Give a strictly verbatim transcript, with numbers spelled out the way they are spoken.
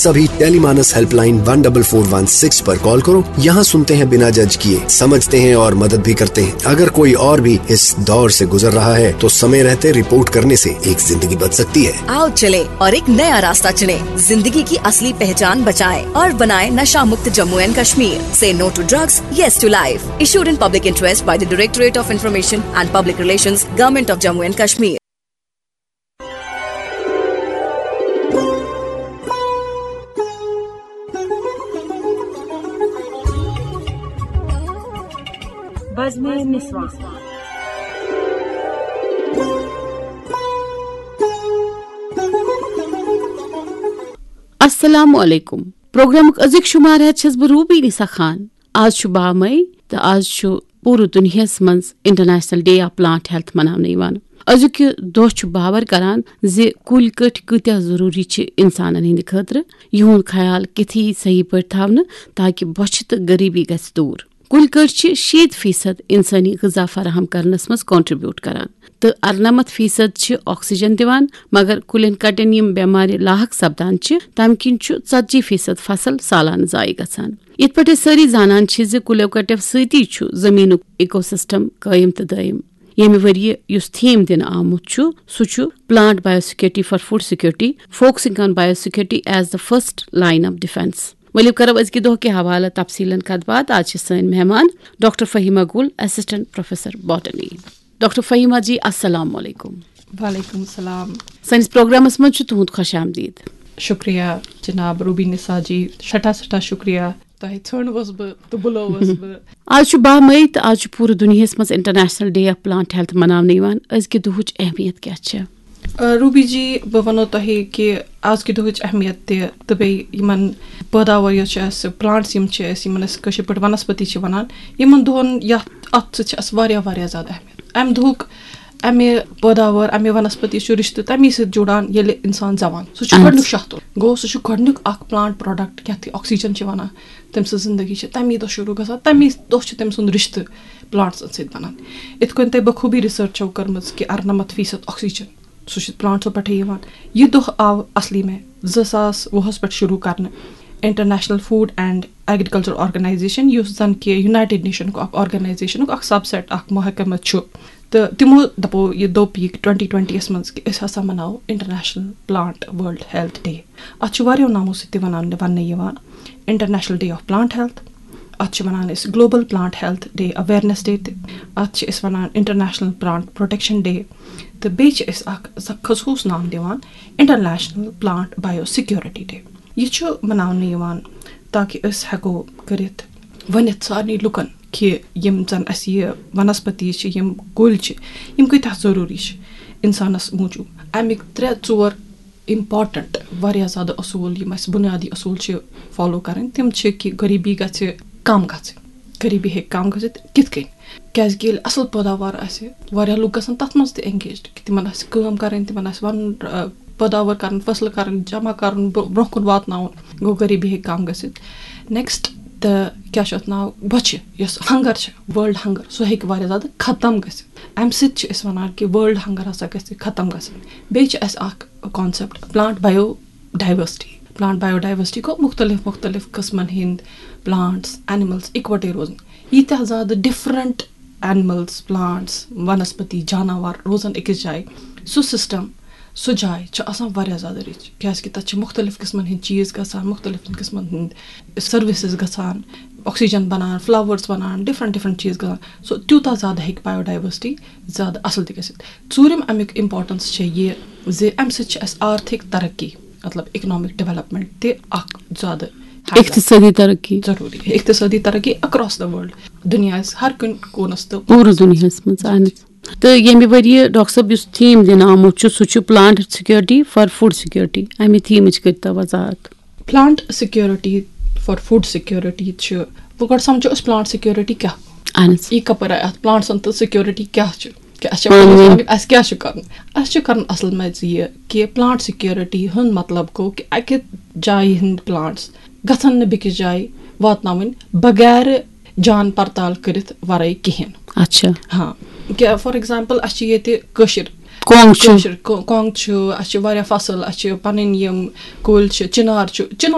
सभी Tele MANAS helpline one double four one six पर call करो। यहाँ सुनते हैं बिना जज किए, समझते हैं और मदद भी करते हैं। अगर कोई और भी इस दौर से गुजर रहा है तो समय रहते रिपोर्ट करने से एक जिंदगी बच सकती है। आओ चले और एक नया रास्ता चुने, जिंदगी की असली पहचान बचाएं और बनाएं नशा मुक्त Jammu and Kashmir. Say no to drugs, yes to life. Issued in public interest by the Directorate of Information and Public Relations, Government of Jammu and Kashmir. بزمِ نسواں۔ السلام علیکم۔ پروگرامُک أزیُک شمار ہٮ۪تھ چھَس بہٕ روبی نسا خان۔ آز چھُ باہ مئی تہٕ آز چھُ پوٗرٕ دُنیاہَس منٛز International Day of Plant Health مناونہٕ یِوان۔ أزیُک یہِ دۄہ چھُ باور کران زِ کُلۍ کٔٹۍ کۭتیاہ ضروٗری چھِ اِنسانَن ہٕنٛدِ خٲطرٕ۔ یِہُنٛد خیال کِتھ یی صحیح پٲٹھۍ تھاونہٕ تاکہِ بۄچھِ تہٕ غریبی گژھِ دوٗر۔ کُلۍ کٔٹۍ چھِ شیٖتھ فیصد اِنسٲنی غذا فراہم کرنَس منٛز contribute کران تہٕ اَرنَمَتھ فیصد چھِ oxygen دِوان، مگر کُلٮ۪ن کَٹٮ۪ن یِم بٮ۪مارِ لاحق سپدان چھِ، تَمہِ کِنۍ چھُ ژتجی فیصد فصل سالانہٕ ضایع گژھان۔ یِتھ پٲٹھۍ أسۍ سٲری زانان چھِ زِ کُلٮ۪و کَٹٮ۪و سۭتی چھُ زٔمیٖنُک ecosystem قٲیِم تہٕ دٲیِم۔ ییٚمہِ ؤریہِ یُس theme دِنہٕ آمُت چھُ، سُہ چھُ Plant Biosecurity for Food Security, Focusing on Biosecurity as the First Line of Defense۔ ؤلِو کرو أزکہِ دۄہ کہِ حوالہٕ تفصیٖلن کتھ باتھ۔ آز چھِ سٲنۍ مہمان ڈاکٹر فہیمہ گل، Assistant Professor Botany۔ Doctor Fahima جی، السلام علیکم۔ وعلیکم السلام۔ سٲنِس پروگرامس منٛز چھُ تُہُنٛد خۄش آمدید۔ شُکریہ جناب روبی نسا جی، سٮ۪ٹھاہ سٮ۪ٹھاہ شُکریہ۔ تۄہہِ ژھٲنٛڈوس بہٕ تہٕ بُلووس بہٕ۔ آز چھُ باہ مئی تہٕ آز چھُ پوٗرٕ دُنیاہَس منٛز International Day of Plant Health مناونہٕ یِوان۔ أزکہِ دُہٕچ اہمیت کیٛاہ چھےٚ؟ آ، روبی جی، بہٕ وَنو تۄہہِ کہِ آزکہِ دُہٕچ اہمیت تہِ تہٕ بیٚیہِ یِمَن پٲداوار یۄس چھِ اَسہِ، plants یِم چھِ اَسہِ، یِمَن أسۍ کٲشِر پٲٹھۍ وَنَسپتی چھِ وَنان، یِمَن دۄہَن یَتھ، اَتھ سۭتۍ چھِ اَسہِ واریاہ واریاہ زیادٕ اہمیت۔ اَمہِ دۄہُک، اَمہِ پٲداوار، اَمہِ وَنَسپتی چھُ رِشتہٕ تَمی سۭتۍ جُڑان ییٚلہِ اِنسان زٮ۪وان۔ سُہ چھُ اہن۔ گۄڈٕنیُک شاہ تُل۔ گوٚو، سُہ چھُ گۄڈٕنیُک اَکھ plant product یَتھ یہِ oxygen چھِ وَنان۔ تٔمۍ سٕنٛز زِندگی چھِ تَمی دۄہ شروٗع گژھان، تَمی دۄہ چھُ تٔمۍ سُنٛد رِشتہٕ plants سۭتۍ بَنان۔ یِتھ کٔنۍ تۄہہِ بخوٗبی research چھو کٔرمٕژ کہِ اَرنَمَتھ فیٖصد oxygen، سُہ چھُ plants پٮ۪ٹھَے یِوان۔ یہِ دۄہ آو اَصلی میں زٕ ساس وُہَس پٮ۪ٹھ شروٗع کرنہٕ۔ International Food and Agriculture Organization، یُس زَن کہِ United Nationُک اَکھ organizationُک اَکھ subset، اَکھ محکمہٕ چھُ، تہٕ تِمو دَپو، یہِ دوٚپ یہِ twenty twentyیَس منٛز کہِ أسۍ ہسا مَناوو International Plant World Health Day۔ اَتھ چھُ واریاہو ناوو سۭتۍ تہِ وَنان، وَننہٕ یِوان، International Day of Plant Health، اَتھ چھِ وَنان أسۍ Global Plant Health Day Awareness Day تہِ، اَتھ چھِ أسۍ وَنان International Plant Protection Day، تہٕ بیٚیہِ چھِ أسۍ اَکھ ز-، خصوٗص ناو دِوان International Plant Biosecurity Day۔ یہِ چھُ مَناونہٕ یِوان تاکہِ أسۍ ہٮ۪کو کٔرِتھ، ؤنِتھ سارنٕے لُکَن کہِ یِم زَن اَسہِ یہِ وَنَسپتی چھِ، یِم کُلۍ چھِ، یِم کۭتیٛاہ ضروٗری چھِ اِنسانَس موٗجوٗب۔ اَمِکۍ ترٛےٚ ژور important واریاہ زیادٕ اصوٗل، یِم اَسہِ بُنیادی اصوٗل چھِ follow کَرٕنۍ، تِم چھِ کہِ غریٖبی گژھِ کَم گژھٕنۍ، غریٖبی ہیٚکہِ کَم گٔژھِتھ کِتھ کٔنۍ؟ کیٛازِکہِ ییٚلہِ اَصٕل پٲداوار آسہِ، واریاہ لُکھ گژھن تَتھ منٛز تہِ engaged، کہِ تِمَن آسہِ کٲم کَرٕنۍ، تِمَن آسہِ وَنُن، آ، پٲداوار کَرُن، فصلہٕ کَرٕنۍ، جمع کَرُن، برٛو-، برٛونٛہہ کُن واتناوُن، گوٚو غریٖبی ہیٚکہِ کَم گٔژھِتھ۔ Next، تہٕ کیٛاہ چھُ اَتھ ناو، بۄچھِ، یۄس hunger چھِ، world hunger، سُہ ہیٚکہِ واریاہ زیادٕ ختم گٔژھِتھ۔ اَمہِ سۭتۍ چھِ أسۍ وَنان کہِ world hunger ہسا گژھِ ختم گژھٕنۍ۔ بیٚیہِ چھِ اَسہِ اَکھ concept، plant biodiversity۔ Plant biodiversity گوٚو مُختٔلِف مُختٔلِف قٕسمَن ہٕنٛدۍ plants، animals اِکوَٹَے روزٕنۍ۔ ییٖتیٛاہ زیادٕ different animals، plants، وَنَسپتی، جاناوار روزَن أکِس جایہِ، سُہ system، سُہ جاے چھِ آسان واریاہ زیادٕ rich، کیٛازِکہِ تَتہِ چھِ مُختٔلِف قٕسمَن ہٕنٛدۍ چیٖز گژھان، مُختٔلِف قٕسمَن ہٕنٛدۍ services گژھان، oxygen بَنان، flowers بَنان، different different چیٖز گژھان۔ سُہ تیوٗتاہ زیادٕ ہیٚکہِ biodiversity زیادٕ اَصٕل تہِ گٔژھِتھ۔ ژوٗرِم اَمیُک importance چھےٚ یہِ زِ اَمہِ سۭتۍ چھِ اَسہِ آرتھِک ترقی، مطلب economic development تہِ اَکھ زیادٕ ہاوان۔ اقتصٲدی ترقی۔ ضروٗری۔ اقتصٲدی ترقی across the world، دُنیاہَس ہر کُنہِ کوٗنَس تہٕ پوٗرٕ دُنیاہَس منٛز، اہن حظ۔ تہٕ ییٚمہِ ؤریہِ ڈاکٹر صٲب یُس theme دِنہٕ آمُت چھُ، سُہ چھُ Plant Security for Food Security۔ اَمہِ themeٕچ کٔرۍتو وضاحت۔ Plant security for food security چھُ، وۄنۍ گۄڈٕ سَمجھو أسۍ plant security کیٛاہ گوٚو۔ اہن حظ۔ یہِ کَپٲرۍ آیہِ اَتھ plants تہٕ security کیٛاہ چھُ؟ کہِ اَسہِ چھِ پانہٕ ؤنۍ۔ پَنُن اَسہِ کیٛاہ چھُ کَرُن؟ اَسہِ چھُ کَرُن اَصٕل منٛز یہِ کہِ plant security ہُنٛد مطلب گوٚو کہِ اَکہِ جایہِ ہٕنٛدۍ plants گژھن نہٕ بیٚکِس جایہِ واتناوٕنۍ بغیر جان پرتال کٔرِتھ ورٲے کِہیٖنۍ۔ اچھا۔ ہاں، کہِ for example اَسہِ چھِ ییٚتہِ کٲشِر، کۄنٛگ چھُ۔ کٲشِر کو- کۄنٛگ چھُ، اَسہِ چھِ واریاہ فصٕل، اَسہِ چھِ پَنٕنۍ یِم کُلۍ چھِ، چِنار چھُ، چِنار